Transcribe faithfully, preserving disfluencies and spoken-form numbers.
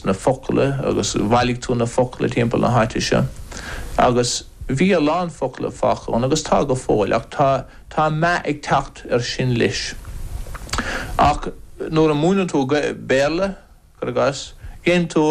Na focla agus bhailigh tú na focla timpeall na háite seo. Agus bhí a lán focla fágtha ann agus tá go fóill ach tá tá meath ag teacht ar sin leis. Ach nuair a múineann tú Béarla gur gas, déanann tú